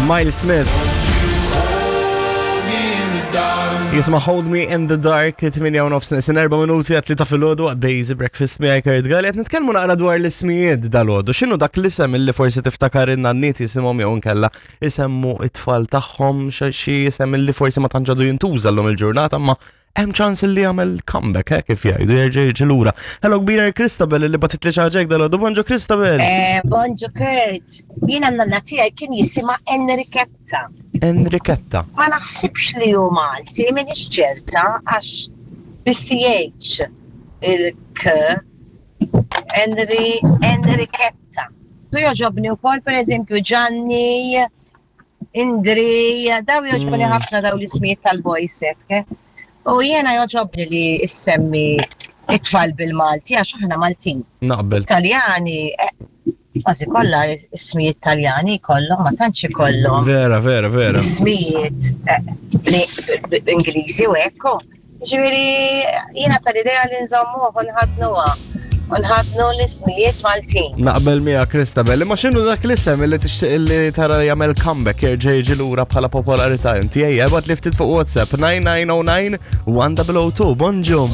Miles Smith. Jisma Hold Me in the Dark, 8 u nofs sin 4 minuti għat li ta' filgħodu għad Bejzi Breakfast miegħi Kurt Galli qed nitkellmu naqra dwar l-ismijiet dal-għodu. X'inhu dak l-isem illi forsi tiftakar in-nanniet jisimhom jew inkella isemmu it-tfal tagħhom xi isem illi forsi ma tantx għadu jintuża llum il-ġurnata ma hemm ċans li jagħmel comeback, eh, kif jgħidu, jerġa' jiġi lura. Hello kbira Christabel li batit li xi dal-għodu. Bonġu Christabel. Eh, bonġu Kurt. Jiena n-nanna tiegħi kien jisimha Enrichetta. Enrichetta. Ma naħsibx li hu Malti, m'iniex ċerta għax bis-CH il-K Enri Enrichetta. Tu joġobni wkoll pereżempju Gianni, Indri, daw joġobni ħafna daw l-ismijiet tal-boys hekk. Eh. U jiena joġobni li issemmi it-tfal bil-Malti għax aħna Maltin. Naqbel. Taljani, eh, kważi kollha ismijiet Taljani kollhom, ma tantx ikollhom. Vera, vera, vera. Ismijiet eh, Ingliżi u ekku. Ġifieri jiena tal-idea li nżommuh u nħaddnuha u nħaddnu l-ismijiet Maltin. Naqbel miegħek Christabel, imma x'inhu dak l-isem li tixtieq li tara jagħmel comeback jerġa' jiġi lura bħala popolarità inti ejja ibgħat li ftit fuq WhatsApp 9909 1002. Bonġu.